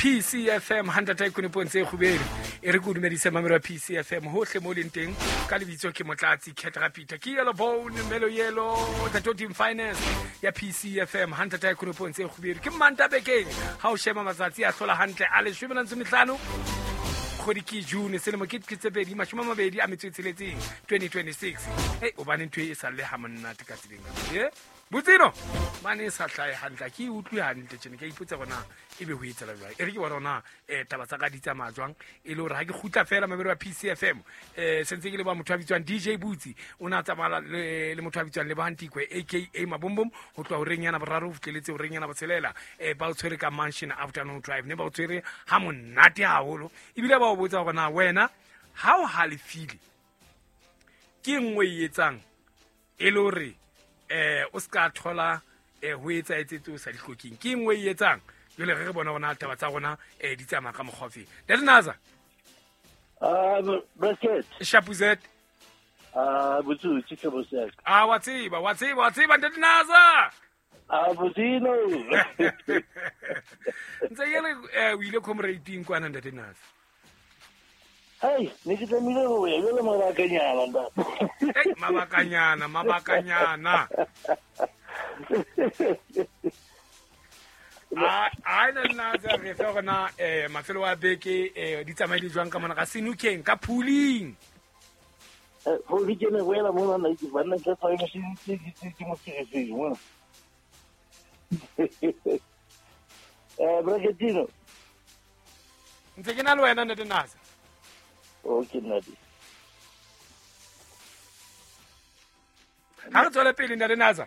PCFM 100.3 kgubedi e re ke o dumedise mamelo ya PCFM hohle mo leng teng ka lebitso ke Motlatsi Cat Rapita ke Yellow Bone Melo Yellow the Team Finance ya PCFM 100.3 kgubedi ke Manta bekeng ha o sheba matsatsi a hlola hantle a 15 kgwedi ke June selemo ke tse pedi mashome a mabedi a metso e tsheletseng 2026. Hey, obane ntho e sa le ha monate ka tseleng e botsino mane e sa hlae hantle ke e utlwe hantle tjene ke a ipotsa gona e be ho etsela jwang e re ke bona gona taba tsa ka di tsamaya jwang e le hore ha ke kgutla fela mamelo wa PCFM sentse ke le ba motho a bitswang DJ Butsi o ne a tsamaya le motho a bitswang Lebohang Tikwe aka Mabombom ho tloha horeng yana boraro ho fihleletse horeng yana botshelela ba o tshwere ka Mansion Afternoon Drive ne ba o tshwere ha monate haholo ebile ba o botsa hore na wena ha o halefile ke nngwe e etsang e le hore o ska thola ho etsa etsetse o sa di hlokeng ke nngwe e etsang jwale re bona gona taba tsa rona di tsamaya ka mokgwa ofeng Ntate Naza. Bracket. Shapuzet. Botsotsi tlhobo saka. Ah, wa tseba, wa tseba, wa tseba Ntate Naza. Ah, botsino. Ntse ke re o ile comrade-ing kwana Ntate Naza. Hey, ne ke tlamehile ho ya jwale mabakanyana ntate. Hey, mabakanyana, mabakanyana. A na nna tsa re fe gona mafelo a beke di tsamaile jwang ka mona ka senukeng ka pooling. Go di kene boela mona nna ke banna ke fa ke se ke mo ke mona. Bracketino. Ntse ke na le wena Ntate Naza. Okay, Ntate. Ha re tswele pele Ntate Naza.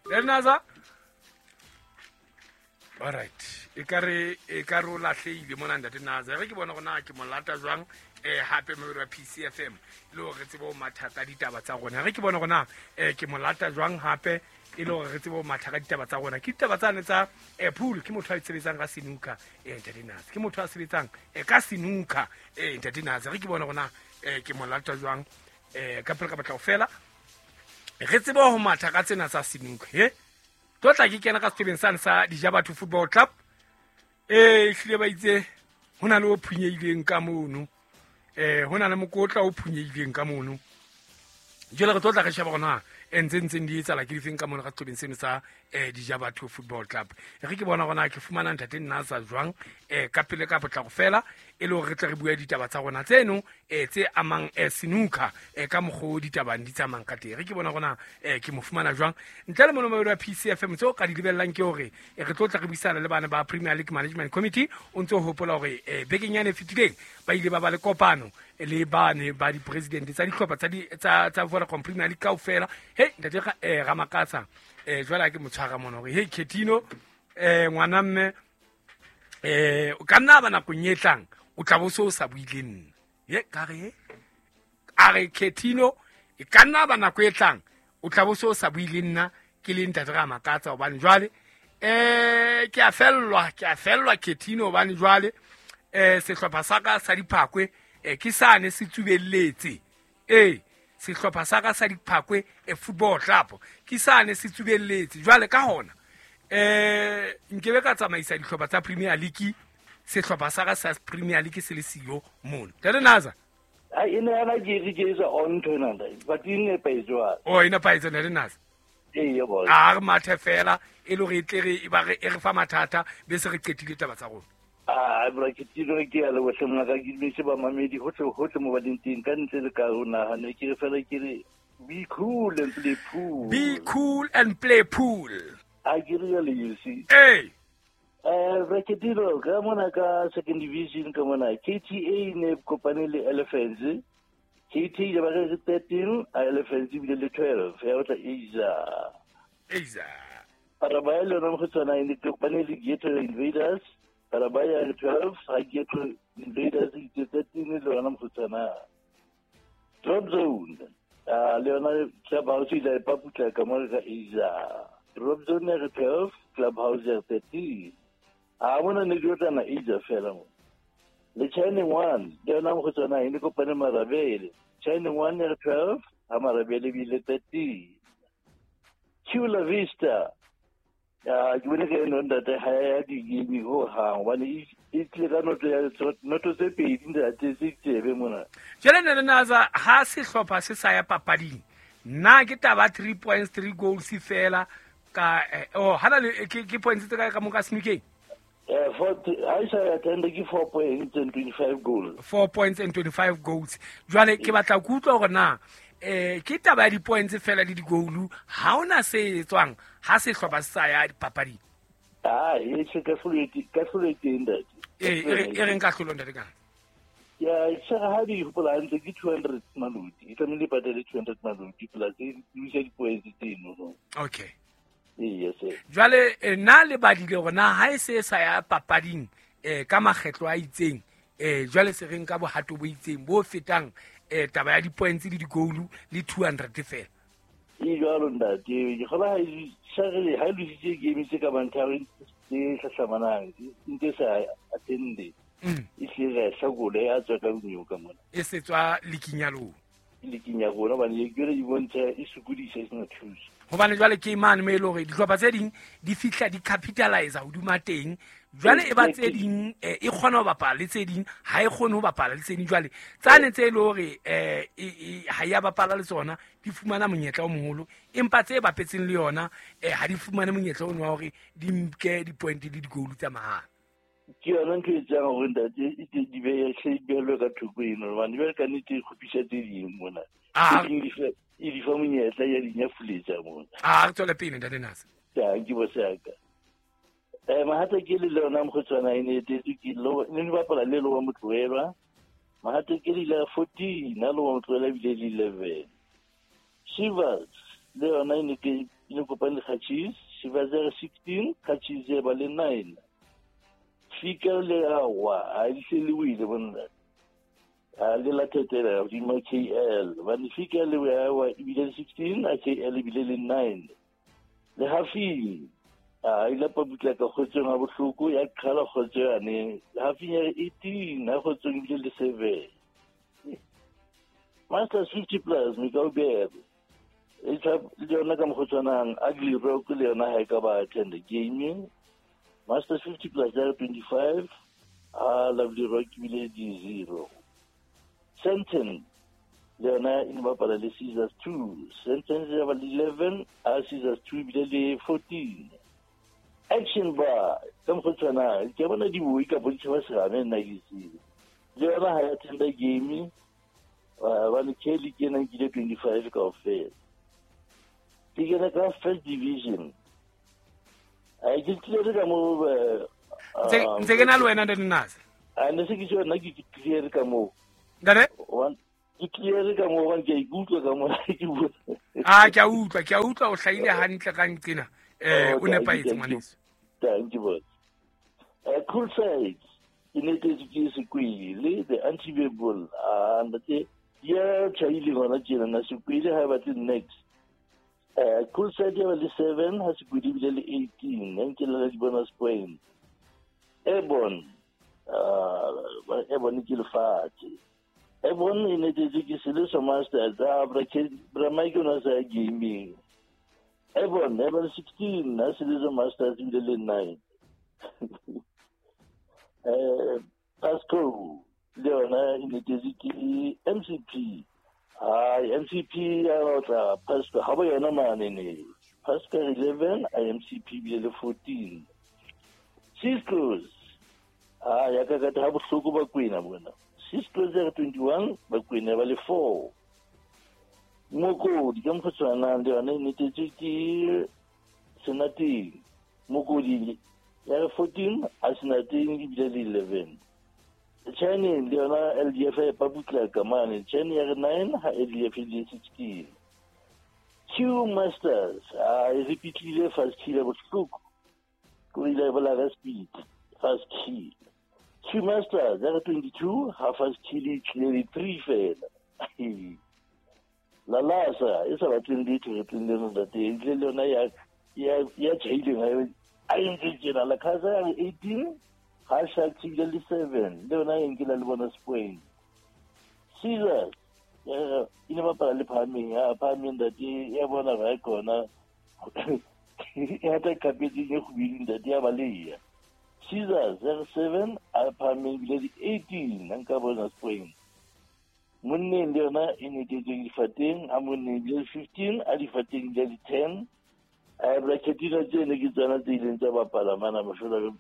Ntate Naza. All right. E ka re o lahlehile mona Ntate Naza. Re ke bona gona ke mo lata jwang hape mo wa PCFM le hore re tsebe ho matha ka ditaba tsa rona. Re ke bona gona ke mo lata jwang hape e le hore re tsebe ho matha ka ditaba tsa rona. Ke ditaba tsane tsa pool ke motho a sebetsang ka senuka Ntate Naza. Ke motho a sebetsang ka senuka Ntate Naza. Re ke bona gona ke mo lata jwang ka pele ka batla ho fela. Re tsebe ho matha ka tsena tsa senuka he. Tlo tla ke kena ka setebeng sane sa Dijabatho Football Club. Ehlile ba itse ho na le o phunyehileng ka mono. Ho na le mokotla o phunyehileng ka mono. Jwale re tlo tla re sheba hore na ntse ntseng di etsahala ke difeng ka mono ka setebeng seno sa Dijabatho Football Club. Re ke bona hore na ke fumana Ntate Naza jwang ka pele ka potlako fela e le hore re tle re bue ditaba tsa rona tseno tse amang senuka ka mokgwa ditabang di tsamayang ka teng. Re ke bona hore na ke mo fumana jwang ntle le mono wa PCFM tseo ka di lebellang ke hore re tlo tla re buisana le bana ba Premier League Management Committee. O ntse o hopola hore bekeng yane e fetileng ba ile ba ba le kopano le bane ba di-president tsa dihlopha tsa Vodacom Premier League kaofela. Hey Ntate Ramakatsa jwale ha ke mo tshwara mona hore hey Ketino ngwana mme o ka nna ba nakong e tlang o tla bo se o sa buile nna. Ye ka re a re Ketino e ka nna ba nako e tlang o tla bo se o sa buile nna ke le Ntate Ramakatsa hobane jwale ke a fellwa Ketino hobane jwale sehlopha sa ka sa Diphakwe ke sane se tsubelletse. Sehlopha sa ka sa Diphakwe Football Club ke sane se tsubelletse. Jwale ka hona nkebe ka tsamaisa dihlopha tsa Premier League sehlopha sa ka sa Premier League se le siyo mono. Ntate Naza. Ai ene ana ke re ke isa on to nna but ine paitswa. Oh ine paitswa Ntate Naza. Ee bo. A re mathe fela e le hore e tle re e ba re e re fa mathata be se re qetile taba tsa rona. Ah, Bracketino ke ya le bohle mona ka ke dumedise ba mamedi hohle hohle mo ba leng teng ka ntle le ka ho naha ne ke re fela ke re be cool and play pool. Be cool and play pool. A ke re le you see. Hey. Bracketino ka mona ka second division ka mona KTA ne kopane le Elephants. KTA ba re 13, Elephants bile le 12. Ya batla Asia. Asia. Parabaya le yona mo go tsona e ne kopane le Ghetto Invaders. Parabaya le 12, ha Ghetto Invaders e 13 le yona mo go tsona. Drop Zone. Le yona Clubhouse ile paputla ka mo ka Asia. Drop Zone ya 12, Clubhouse ya 13. A bona ne ke tsana Asia fela mo. Le Shining One, le yona mo go tsona e ne kopane Marabele. Shining One ya 12, ha Marabele bile 13. Chula Vista ke bone ka eno ntate ha ya di-game ho hang hobane e tlile ka noto ya noto tse pedi ntate tse tsebe mona. Jwale ne le Naza ha sehlopha se sa ya papading nna ke taba 3 points 3 goals fela ka hana le ke points tse kae ka mo ka senukeng? Ha e sa ya tender ke 4 points and 25 goals. 4 points and 25 goals. Jwale ke batla ku utlwa hore na ke taba ya di-points fela le di-goal ha ona se etswang ha sehlopha se sa ya dipapading. E se ka hlolo teng ntate. E reng ka hlolo ntate ka? Ya se ha di hopola hantle ke 200 maloti. E tlamehile patale 200 maloti plus e isa di-points tseno no. Okay. Yes. Jwale nna le badile hore na ha e se sa ya papading ka makgetlo a itseng jwale se reng ka bohato bo itseng bo fetang taba ya di-points le di-goal le 200 fela. E jwalo ntate, ke kgola ha e lositse game tse ka bang tharo tse hlahlamanang ntse sa attende. E hlile ya hlakole ya tswa ka nyoka mona. E se tswa liking ya lona. Liking ya rona hobane e kere di bontsha e sokodisa e sena thuso. Hobane jwale ke mane mo e le hore dihlopha tse ding di fihla di capitalize hodima teng. Jwale e ba tse ding e kgona ho bapala le tse ding ha e kgone ho bapala le tse ding. Jwale tsane tse e le hore ha ya bapala le tsona di fumana monyetla o moholo, empa tse bapetseng le yona ha di fumane monyetla ono wa hore di nke di-point le di-goal tsa mahala. Ke yona ntho e etsang hore ntate e di behelwe ka thoko eno hobane jwale ka nnete e kgopisa tse ding mona. E di fa monyetla ya di nyafuletsa mona. Re tswele pele ntate Nasa. Ke bo saka. Mahata ke le lona mokgotshwana e ne etetse ke ne bapala le lo wa motloelwa. Mahata ke le la 14 na lo wa motloelwa ebile le 11. Shivers le yona e ne ke ne kopane le Kachis, Shivers ya 16, Kachis ya ba le 9. Fika le awa a ise le wile bona. A le la tetela hodima KL, ba ne fika le awa ebile 16, a KL ebile le 9. Le Hafing a ile pa butla ka kgotsong ha bohloko ya qhala kgotso yane. Hafing ya 18 ha kgotsong ebile le 7. Masters 50 plus Mikaubebe. E tla le yona ka mokgotsanang Ugly Rock le yona ha e ka ba attend gaming. Masters 50 plus ya 25 a Lovely Rock ebile di 0. Senten le yona e ne bapala le Caesars 2. Senten ya ba le 11 a Caesars 2 ebile le 14. Action bar ka mokgotshwana ke bona di boi ka bontšha ba serame nna ke tsebe. Le yona ha ya tender game ba le Kelly ke ena nkile 25 kaofela. Ke kena ka first division. A ke clear ka mo ntse ke na le wena ntate Nasa. A ne se ke tjho nna ke clear ka mo. Ntate? Ke clear ka mo hobane ke a ikutlwa ka mo ke bua. Ke a utlwa, ke a utlwa o hlahile hantle ka nqena. O nepahetse ngwaneso. Thank you boss. Cool side e ne tetse ke Sekwele the anti-bebol ntate ya tjhaile gona tjena na Sekwele ha batle next. Cool side ya ba le 7 ha Sekwele ebile le 18 ya nkela le di-bonus point. Airborne Airborne ke lefatshe. Airborne e ne tetse ke Seleso Masters a bra Mike o na sa gaming. Airborne 16 ha Seleso Masters ebile le 9. Pasco le yona e ne tetse ke MCP. MCP ya otla Pasco ha bo yona mane ne. Pasco 11 a MCP ebile le 14. Cisco's ya ka ka ha bohloko ba kwena bona. Cisco's ya 21 ba kwena ba le 4. Mokodi ka mokgotshwana le yona e ne tetse ke Senateng. Mokodi ya 14 a Senateng ebile le 11. China le yona LDF ya pabutla ka mane. China ya 9 ha LDF le 16. Q Masters a e repeatile first kill bohloko. Ko ile ba la speed first kill. Q Masters ya 22 ha first kill e tlile 3 fela. La lasa e sa batleng letho re tleng le ntate le yona ya ya tjhaileng a entse tjena la khaza ya 18 ha Sharks ebile le 7 le yona e nkela le bonus point. Caesars e ne bapala le Phahameng, ya Phahameng ntate ya bona ba kona E hata kapetseng e kgubedu ntate ya baleya. Caesar 07 a phahameng ebile di 18 nka bonus point. Monneng le yona e netetswe difateng, a monneng ebile 15, a difateng ebile di 10. A braketina tsene ke tsona tse ileng tsa bapala mana mafelo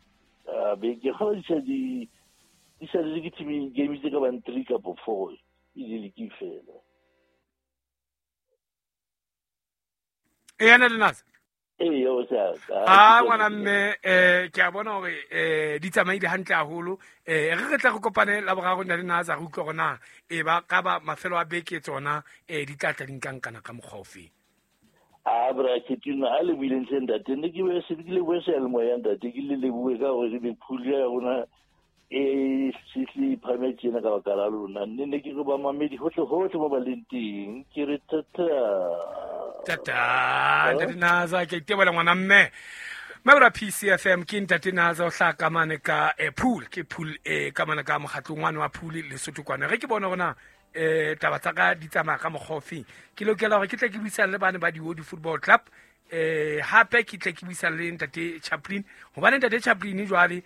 a beke. Ga di di sa le ke team game tse ka bang 3 kapa 4 e di ke fela. E yana le nasa. E yo sa. A ngwana mme ke a bona hore di tsamaile hantle haholo. Re tla re kopane la boraro nna le nasa re utlwe hore na e ba ka ba mafelo a beke tsona di tla tla di nkankana ka mokgwa ofe. A bra ke tuna a le buileng tse ntate ne ke be se ke le bue se le moya ntate ke le le bue ka hore be phuli ya rona e sisli phametse na ka baka la lona ne ke go ba mamedi hohle hohle mo ba leng teng ke re tata tata ntate Naza ke itebola ngwana mme mabra PCFM ke ntate Naza o hlaka mane ka pool ke pool ka mane ka mokgatlong wa wa pool Lesotho kwana re ke bona rona taba tsa ka di tsamaya ka mokgwa ke lokela hore ke tle ke buisane le bane ba di Football Club hape ke tle ke buisane le ntate Chaplin hobane ntate Chaplin jwale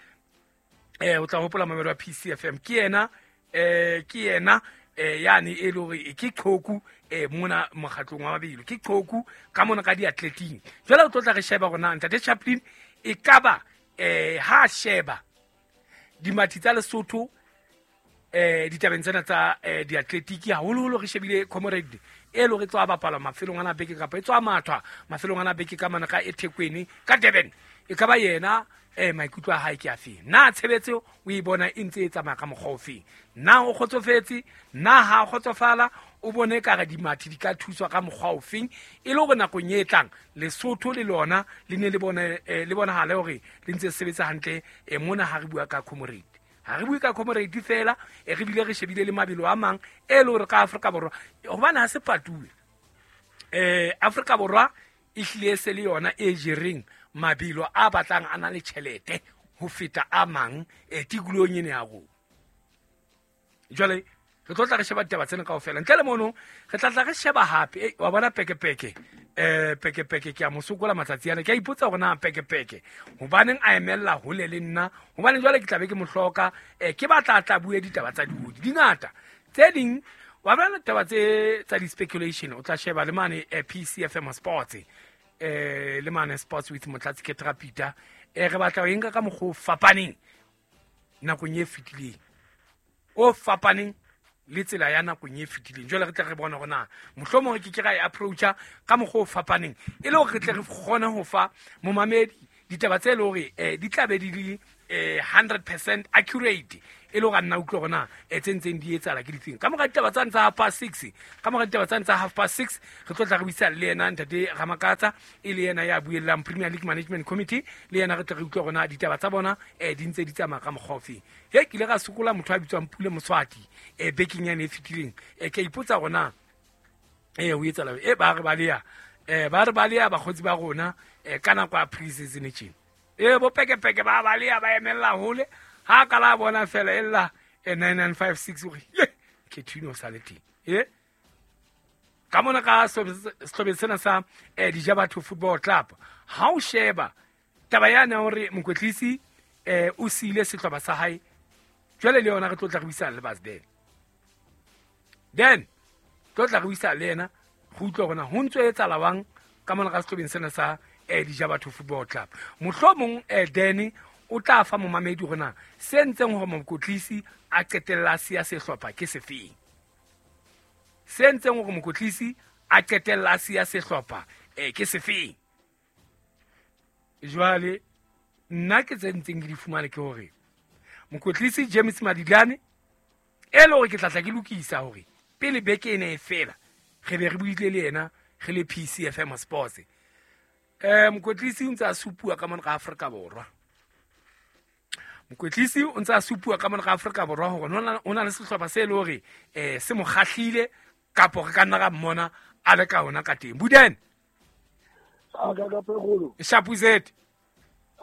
o tla hopola mamelo wa PCFM ke yena yani e le hore ke qhoku mona mokgatlong wa mabelo ke qhoku ka mona ka diathleting jwale o tlo tla re sheba rona ntate Chaplin e kaba ha sheba dimathi tsa Lesotho ditabeng tsena tsa diathletiki haholoholo re shebile comrade e le hore tswa bapala mafelong ana beke kapa e tswa mathwa mafelong ana beke ka mana ka eThekwini ka Durban e ka ba yena maikutlo a hae ke afe na tshebetso o e bona e ntse e tsamaya ka mokgwa ofe na o kgotsofetse na ha kgotsofala o bone ka re dimathi di ka thuswa ka mokgwa ofeng e le hore nakong e tlang Lesotho le lona le ne le bone le bonahale hore le ntse sebetsa hantle mona ha re bua ka comrade ha re bue ka comrade fela re bile re shebile le mabelo a mang e le hore ka Afrika Borwa hobane ha se patuwe Afrika Borwa e hlile se le yona e jereng mabelo a batlang a na le tjhelete ho feta a mang tikolohong ena ya rona. Jwale re tlo tla re sheba ditaba tsena kaofela ntle le mono re tla tla re sheba hape wa bona pekepeke pekepeke ke a mo sokola matsatsi ana ke a ipotsa hore na pekepeke hobaneng a emella hole le nna hobane jwale ke tla be ke mo hloka ke batla tla bue ditaba tsa diodi di ngata tse ding wa bona taba tse tsa di-speculation o tla sheba le mane PCFM Sports le mane Sports with Motlatsi Ketra Peter re batla ho enka ka mokgwa o fapaneng nakong e fetileng o fapaneng le tsela ya nakong e fetileng jwale re tle re bone hore na mohlomong ke ke ra e approacha ka mokgwa o fapaneng e le hore re tle re kgone ho fa momamedi ditaba tse le hore di tla be di le 100% accurate e le hore a nna utlwe hore na tse ntseng di etsahala ke difeng ka mora ditaba tsane tsa 6:30 ka mora ditaba tsane tsa 6:30 re tlo tla re buisana le yena ntate Ramakatsa e le yena ya buellang Premier League Management Committee le yena re tle re utlwe hore na ditaba tsa bona di ntse di tsamaya ka mokgwa ofe he ke ile ka sokola motho a bitswang Pule Moswati bekeng yane e fetileng ke a ipotsa hore na o etsahala ba re baleya bakgotsi ba rona ka nako ya pre-season tjena bo pekepeke ba baleya ba emella hole ha ka la bona fela e lla 9956 hore ye ke thino sa le teng ka mona ka sehlobeng sena sa Dijabatho Football Club ha o sheba taba yana hore mokwetlisi o siile sehlopha sa hae jwale le yona re tlo tla re buisana le Basden then tlo tla re buisana le yena go utlwa hore na ho ntso etsahala wang ka mona ka sehlobeng sena sa Dijabatho Football Club mohlomong then o tla fa momamedi hore na se ntseng hore mokotlisi a qetella siya sehlopha ke sefeng se ntseng hore mokotlisi a qetella siya sehlopha ke sefeng jwale nna ke tse ntseng ke di fumane ke hore mokotlisi James Madilane e le hore ke tla tla ke lokisa hore pele beke ena e fela re be re buile le yena re le PCFM Sports mokwetlisi o ntse a supuwa ka mona ka Afrika Borwa mokwetlisi o ntse a supuwa ka mona ka Afrika Borwa hore o na le sehlopha se le hore se mo kgahlile kapo re ka nna ra mmona a le ka hona ka teng Buden a ka ka pegolo Shapuzet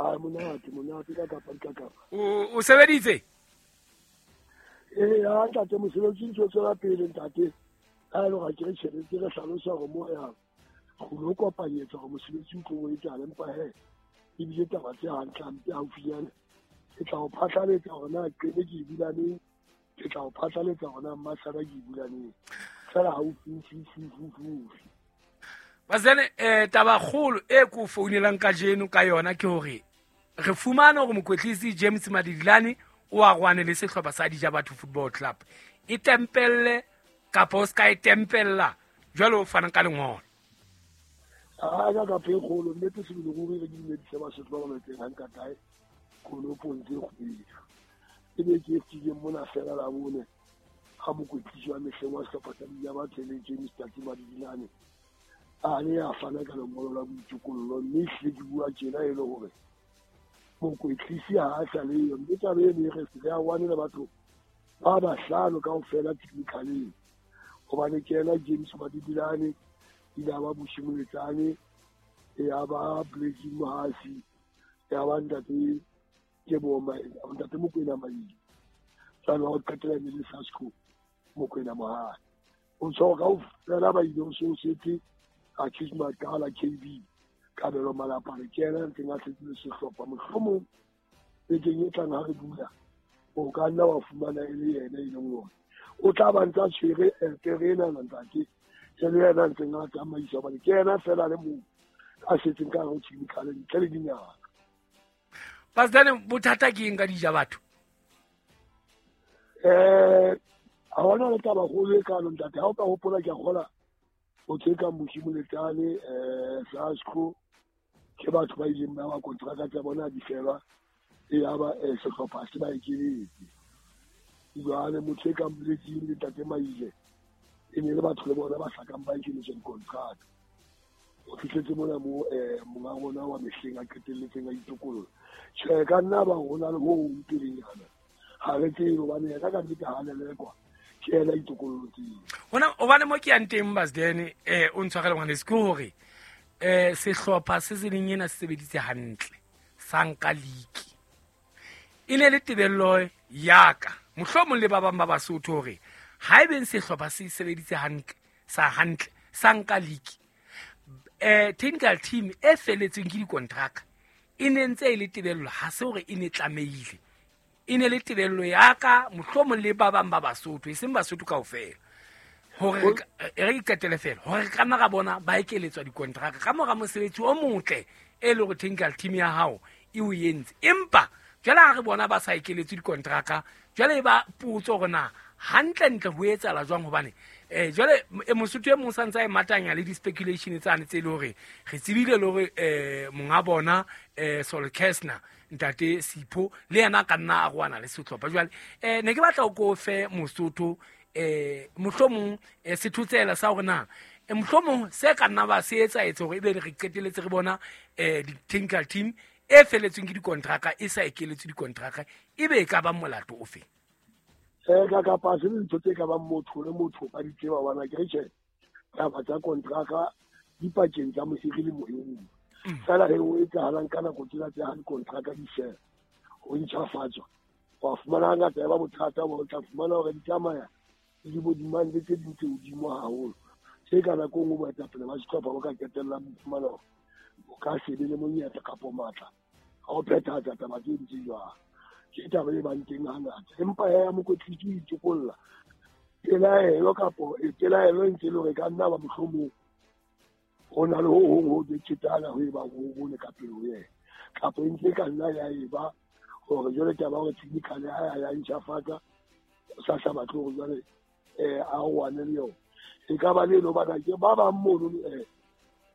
a monate ka kapa ka kapa o sebeditse ya ntate mosebetsi ntse o tswela pele ntate ha e le hore ke re tjhelete re hlalosa hore mo yang Go lo kopanyetsa gore mosebetsi o tlo o etsala empa he ebile taba tse hantle hampe haufinyane ke tla o phatlaletsa hore na Qeme ke e bulaneng, ke tla o phatlaletsa hore na Mmasara ke e bulaneng fela haufiufiufiufiufi. Bazene taba kgolo e ko founelang kajeno ka yona ke hore re fumane hore mokwetlisi James Madidilane o a rwane le sehlopha sa Dijabatho Football Club. E tempelle kapa o ska e tempella jwale o fana ka lengolo. A ka ka pe kgolo nnete sebele ruri re dumedise Basotho ba ba metseng hanka kae konopong tse kgubedu. E be ke fihlile mona fela la bone ga mokwetlisi wa mehleng wa sehlopha sa Dijabatho le James Tati Madidilane a ne a fana ka lengolo la boitokollo, mme ehlile ke bua tjena e le hore mokwetlisi ha a sa leyo, mme taba eno e re re a wane le batho ba bahlano kaofela technicaleng, hobane ke yena James Madidilane, ile a ba Bushi Moletsane, ya ba Blessing Mohasi, ya ba ntate Teboho ntate Mokwena Maile, jwale wa ho qetela e ne le Sasco Mokwena Mohale. O tsho kaofela ba ile ho se o setse Accused Makala KB Kabelo Malapane ke yena a ntseng a setse le sehlopha. Mohlomong bekeng e tlang ha re dula o ka nna wa fumana e le yena e leng hore o tla ba ntse a tshwere pere ena ntate, e le yena a ntseng a tsamaisa hobane ke yena fela le mong a setseng ka hare ho technical ntle le dingaka. Pastor, bothata ke eng ka Dijabatho? Ha hona le taba kgolo e kalo ntate. Ha o ka hopola ke a kgola motho e kang Bushi Moletsane, Sasco, ke batho ba ileng ba ba kontraka tsa bona di felwa, e ya ba sehlopha se ba ekeletse. Jwale motho e kang Blessing le Ntate Maile e ne le batho le bona ba hlakang ba ekeletswa dikontraka. O fihletse mona mo monga rona wa mehleng a qetelletseng a itokolola. Tjhe, ka nna ba rona le ho hong pelenyana ha re tsebe hobane yena ka nnete ha lelekwa ke yena itokolloteng. Hona hobane mo ke yang teng Basdene, o ntshwarele ngwaneso, ke hore sehlopha se leng ena se sebeditse hantle sa nka league. E ne le tebello ya ka mohlomong le ba bang ba Basotho hore ha ebe sehlopha se sebeditse hantle sa hantle sa nka league, technical team e feletseng ke dikontraka e ne ntse e le tebello, ha se hore e ne tlamehile, e ne le tebello ya ka mohlomong le ba bang ba Basotho, e seng Basotho kaofela, hore re iqetele fela hore ka nna ra bona ba ekeletswa dikontraka ka mora mosebetsi o motle e le hore technical team ya hao e o entse. Empa jwale ha re bona ba sa ekeletswe dikontraka, jwale e ba potso hore na hantlentle ho etsahala jwang, hobane jwale Mosotho e mong sa ntse a e matanya le di-speculation tsane tse le hore re tsebile le hore monga bona Sol Kessner ntate Sipho le yena ka nna a rwana le sehlopha. Jwale ne ke batla o ko fe Mosotho mohlomong sethotsela sa hore na mohlomong se ka nna ba se etsa etse hore ebe re qeteletse re bona di-technical team e feletsweng ke dikontraka e sa ekeletswe dikontraka, ebe e ka ba molato o fe? Ka kapa se ntho tse ka bang motho le motho ka di tseba hobane ke re tjhe taba tsa kontraka di pakeng tsa mohiri le mohiri. Fela he o etsahalang ka nako tsena tse ha dikontraka di fela ho ntjhafatswa, wa fumana hangata e ba bothata bo tla fumana hore di tsamaya le di bo demand tse ding tse hodimo haholo tse ka nako e nngwe boetapele ba sehlopha bo ka qetellang bo fumana hore o ka se be le monyetla kapo matla a ho phethahatsa taba tse ntse jwang. Ke taba e bang teng hangata, empa ya mokwetlisi o itokolla pelaelo kapo pelaelo e ntse e le hore e ka nna ba mohlomong ho na le ho hong ho bethetana ho e bang ho bone ka pele ho yena, kapo e ntse e ka nna ya e ba hore jwale taba ya hore technical ha ya ntjhafatsa o sa sa batle hore jwale a rwane le yona. E ka ba le eno bana ke ba bang mono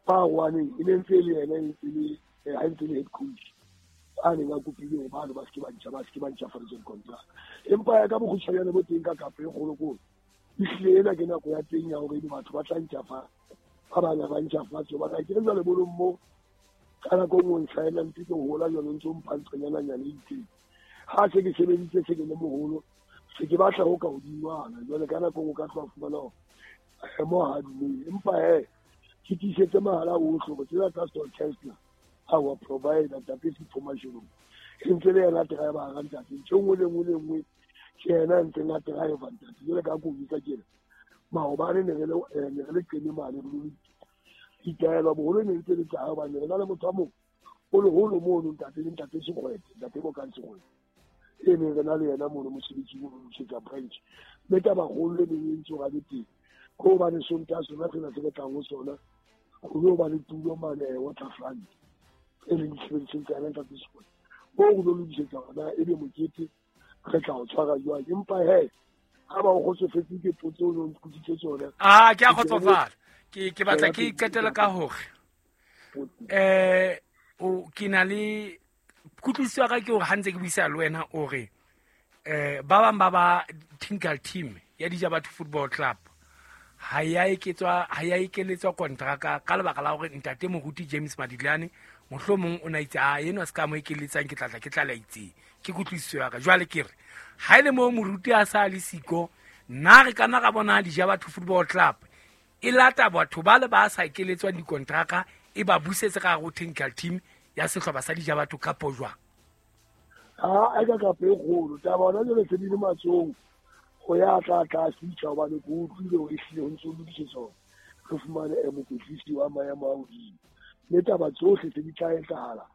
ba rwaneng e ne ntse e le yena e ntse le ha ntse le head coach a neng a kopile hore bano ba se ke ba ntjha, ba se ke ba ntjhafaditswe dikontraka. Empa ya ka bokgutshwanyane bo teng ka kapa e kgolokolo, ehlile ena ke nako ya teng ya hore ebe batho ba tla ntjhafatsa, ba bang ha ba ntjhafatse. Hobane ha ke re jwale bolong moo ka nako e nngwe o nsaena ntse ke hola jwale o ntso mpha nthonyananyana e itseng. Ha se ke sebeditse se ke le moholo, se ke batla ho ka hodingwana. Jwale ka nako e nngwe o ka tloha fumana hore mo ha dumele. Empa he ke tiisetse mahala ohle hore tsena tsa Sol Kessner our provider ntate Sipho Mashilo e ntse le yena driver ga ntate, ntho e nngwe le nngwe le nngwe ke yena ntseng a driver ntate. Jwale ka ko bitsa tjena maobane ne re le Qeme mane re Ditaelo boholo ne ntse le tsa hobane re na le motho a mong o leholo mono ntate le ntate Sekgwete, ntate Bokang Sekgwete e neng re na le yena mono mosebetsi o lokisetsa branch. Mme tabakgolo e neng e ntse hore a be teng ke hobane Sontaha sona sena se re tlang ho sona ho lo ba le tulo mane Waterfront e leng disebedisong tsa yena ntate Sekgwete. Moo re lo lokisetsa hore ebe mokete re tla o tshwara jwang. Empa he ha ba o kgotsofetse ke potso o no nkutlwisitse tsona. Ah, ke a kgotsofala. Ke batla ke qetele ka hore o ke na le kutlwisiso ya ka ke hore ha ntse ke buisana le wena o re ba bang ba ba technical team ya Dijabatho Football Club ha ya eketswa ha ya ekeletswa kontraka ka lebaka la hore ntate Moruti James Madidlane mohlomong o na itse a enwa se ka mo ekeletsang ke tlatla ke tla la itseng. Ke kutlwisiso ya ka. Jwale ke re ha ile mo moruti a sa le siko nna re kana ra bona Dijabatho Football Club e lata batho ba le ba sa ekeletswang dikontraka e ba busetse ka hare ho technical team ya sehlopha sa Dijabatho kapo jwang? Ha a ka kapo e kgolo taba hona jwale se di le matsohong ho ya tla tla fihla hobane ke utlwile hore ehlile ho ntso lokisetswa hore re fumane mokwetlisi wa maemo a hodimo. Mme taba tsohle tse di tla etsahala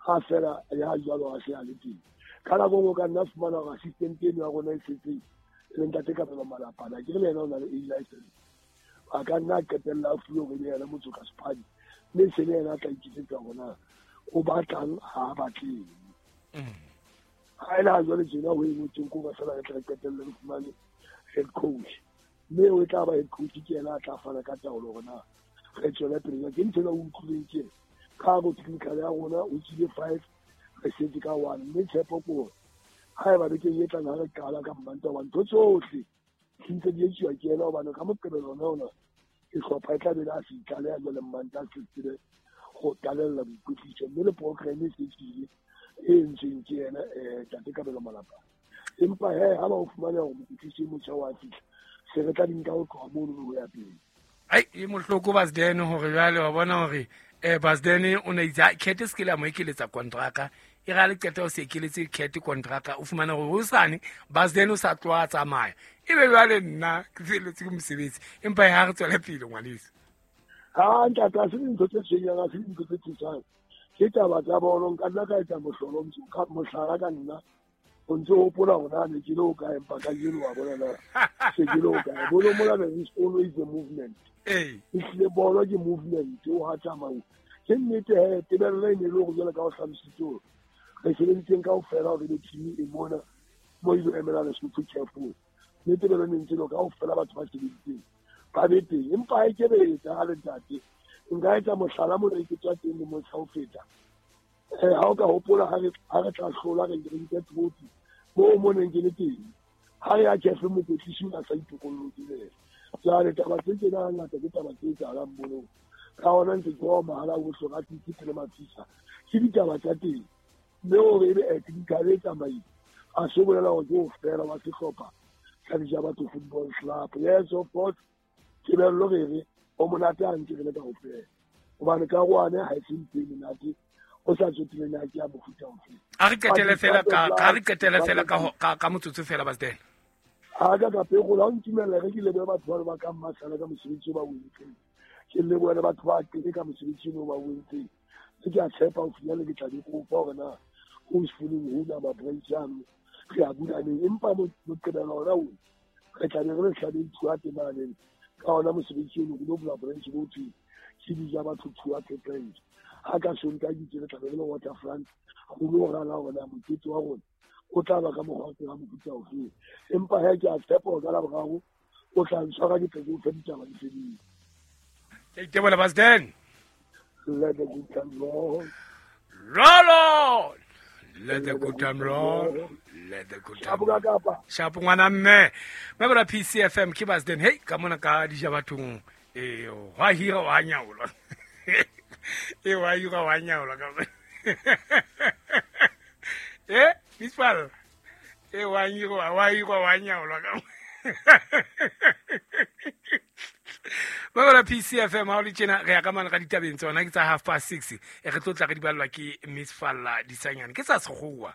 ha fela ya jwalo ha se a le teng. Ka nako nngwe ka nna fumana hore assistant eno ya rona e setseng e leng ntate Kabelo Malapana, ke re le yena o na le A license, a ka nna a qetella a fuwe hore le yena motsoka sephadi, mme se le yena a tla iketsetsa hore na o batlang ha a batleng. Ha ele ha jwale tjena ho e ngotsweng ke hore fela re tle re qetelle re fumane head coach, mme o tla ba head coach ke yena a tla fana ka taolo hore na re tswele pele. Ke ntho ena o utlwileng ke ka hare ho technical ya rona o tswile 5 re setse ka 1, mme tshepo ke hore haeba bekeng e tlang ha re qala ka Mmantaha hobane ntho tsohle di ntse di etsuwa ke yena, hobane ka Moqebelo ona ona sehlopha e tla be le a se itlaleha jwale Mmantaha se tsebe ho qalella boikwetliso, mme le program e se tswile e entsweng ke yena ntate Kabelo Malapane. Empa he ha ba o fumana hore mokwetlisi e motjha wa fihla, se re tla di nka ho tloha mono ho ya pele. Ai e mohloko Basden hore jwale wa bona hore Basden o ne itse Kete se ke la mo ekeletsa kontraka e ra le qeta o se ekeletse Kete kontraka o fumana hore hosane Basden o sa tloha a tsamaya ebe jwale nna ke felletse ke mosebetsi. Empa ha re tswele pele ngwaneso. Ha ntate ha se dintho tse tshwenyang, ha se dintho tse thusang, ke taba tsa bolo. Nka nna ka etsa mohlolo mohlala ka nna o ntse o hopola hore na ne ke le ho kae, empa kajeno wa bona na se ke le ho kae. Bolo mola there is always a movement. Ehlile bolo ke movement o ha tsamao. Ke nnete he tebello e ne le hore jwale ka ho hlalositse hore re sebeditseng kaofela hore le team e mona mo ile emela Lesotho CAF. Mme tebello e ne ntse le kaofela batho ba sebeditseng ba be teng. Empa ha e ke be etsahale ntate. Nka etsa mohlala mona e ke tswa teng le motjha ho feta. Ha o ka hopola ha re tla hlola re nke trophy moo mo neng ke le teng, ha re ya CAF mokwetlisi o a sa itokollotse le yena. Jwale taba tse tjena hangata ke taba tse etsahalang bolong. Ka hona ntse ke wa mahala ohle ra tsitsi pele mafisa. Ke ditaba tsa teng. Mme hore ebe technical e tsamaile, ha se bolela hore ke ho fela wa sehlopha sa Dijabatho Football Club. Yes, of course, tebello re re o monate ha ntse re le kaofela. Hobane karohane ha e se ntho e monate, o sa tsotelle na ke ya mofuta ofe. A re qetele fela ka re qetele fela ka motsotso fela Basden. Ha ka ka pego la ntumella re ke lebohe batho ba ba ka mmasala ka mosebetsi o ba o entseng. Ke lebohe le batho ba teng ka mosebetsi o ba o entseng. Ke a tshepa ho finyella ke tla di kopa hore na o se fumaneng ho na ma branch ano re a bula neng, empa Moqebelo ona o re tla be re le hlabeng Thuate mane. Ka hona mosebetsi ono re lo bula branch bo thweng ke Dijabatho Thuate branch. Ha ka Sontaha ke itse re tla be re le Waterfront ho lo rala hore na mokete wa rona o tla ba ka mokgwa wa mofuta ofe. Empa he ke a tshepa hore ka Laboraro o tla ntshwara ke tle ke o fe ditaba di fedile. Ke itebola Basden. Let the good time roll. Roll on. Let the good time roll. Let the good time roll. Shapo ngwana mme. Mme PCFM ke Basden. Hey, ka mona ka Dijabathong wa hira wa nyaola. Wa hira wa nyaola ka. Mispal. Wa hira wa nyaola ka. Ba PCFM ha o le tjena re ya ka mane ka ditabeng tsona ke tsa 6:30 e re tlo tla re di ballwa ke Miss Falla Disanyane ke tsa sekgowa.